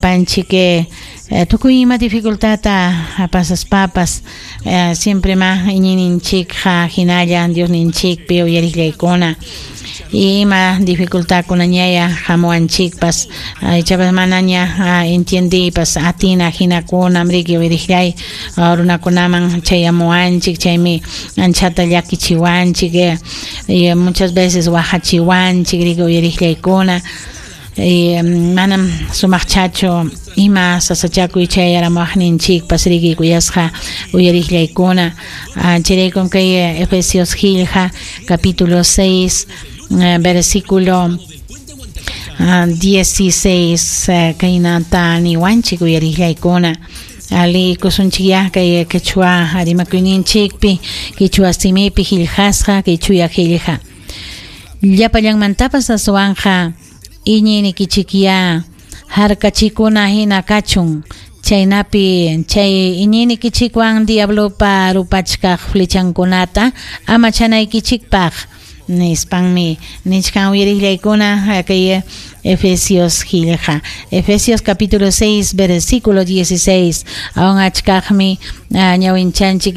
Panchik tukuy ima dificultadta pasaspapas siempre ma iñiyninchikqa hinalla Diosninchikpi uyariqllaykuna ima dificultadkunañaya hamuwanchikpas ichapas manaña entiendiypas atina hinakunam riki uyariqllay runakunaman chayamuwanchik, chaymi anchata llakichiwanchik y muchas veces waqachiwanchik riki uyariqllaykuna. Manam sumaqchachu ima sasachakuy chayaramuwaqninchikpas riki kuyasqa uyariqllaykuna. Chayraykum kay Efesios qillqa capítulo 6 versículo 16 kaynata niwanchik uyariqllaykuna. Liykusunchikyá kay quechua rimakuyninchikpi, quechua simipi qillqasqa kay chuya qillqa. Llapallanmantapas aswanqa iñiynikichikyá harkachikuna hina kachun, chaynapi chay iñiynikichikwan diablopa rupachkaq flechankunata amachanaykichikpaq, nispanmi nichkan uyariqllaykuna kay Efesios qillqa. Efesios capítulo 6 versículo 16. Awan achkaqmi ñawinchanchik.